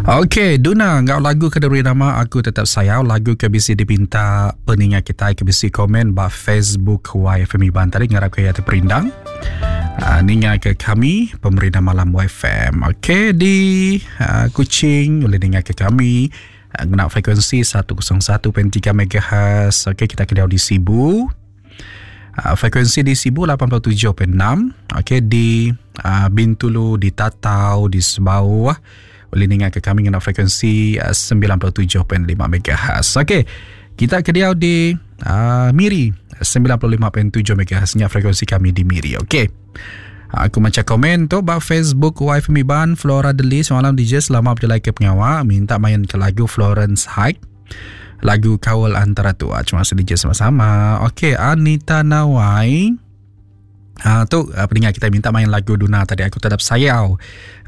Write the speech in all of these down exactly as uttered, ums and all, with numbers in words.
Okey, Duna enggau lagu ke diberi nama Aku Tetap Sayau, lagu ke bisi dipinta peninga kitai ke bisi komen ba Facebook Y F M Iban tadi, ngarap ke iya terperindang. Uh, ninga ke kami pemerindang malam Y F M. Okey, di uh, Kuching boleh ninga ke kami uh, ngena frekuensi seratus satu titik tiga megahertz. Okey, kita ke di Sibu. Uh, frekuensi di Sibu lapan puluh tujuh titik enam. Okey, di uh, Bintulu, di Tatau, di Sebauh boleh dengar ke kami dengan frekuensi uh, sembilan puluh tujuh titik lima megahertz. Okey, kita ke dia di uh, Miri sembilan puluh lima titik tujuh megahertz nya frekuensi kami di Miri. Okey. Aku baca komen tu ba Facebook Y F M Iban. Flora Deli, semalam D J selama berjalan ke pengawal minta main ke lagu Florence High, lagu Kawal Antara Tua. Terima kasih D J sama-sama. Okey, Anita Nawai. Ha, tu pendengar kita minta main lagu Duna tadi, Aku Tetap Sayau.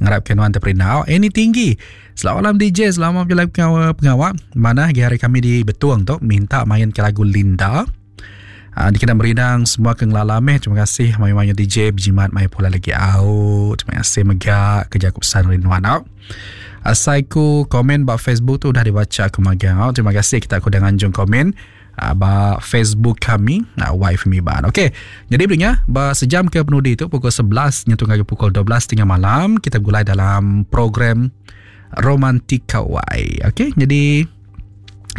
Ngarapkan nuan terperindau. Ini tinggi. Selamat malam D J, selamat berjalan pengawal, pengawal. Mana hari kami di Betuang tu minta main ke lagu Linda. Ha, dikena merindang semua ke ngelalame. Terima kasih main-main D J berjimat main pula lagi out. Terima kasih mega kerja aku pesan rinduan out. Asaiku komen ba Facebook tu dah dibaca aku magang out. Terima kasih kita aku dah nganjung komen ba Facebook kami Y F M Iban. Okey, jadi berinya ba sejam ke penudi tu pukul sebelas nyentuh ke pukul dua belas tiga puluh malam kita gulai dalam program Romantika Y. Okey, jadi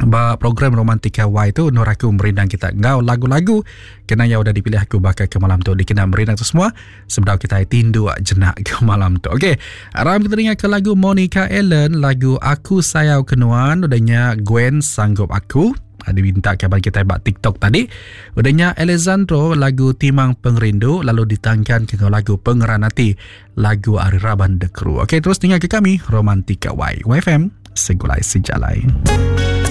ba program Romantika Y tu nur aku merindang kita ngau lagu-lagu kena yang udah dipilih aku bakal ke malam tu dikena merindang tu semua sebelum kita tindu jenak ke malam tu. Okey, aram kita dengar ke lagu Monica Ellen, lagu Aku Sayau Kenuan, udahnya Gwen Sanggup Aku. Diminta kabar kita buat TikTok tadi. Udahnya Alessandro lagu Timang Pengerindu, lalu ditangkan ke lagu Pengeran Hati, lagu Ari Raban The Crew. Okey, terus dengar ke kami Romantika Y, Y F M Segulai Sejalai.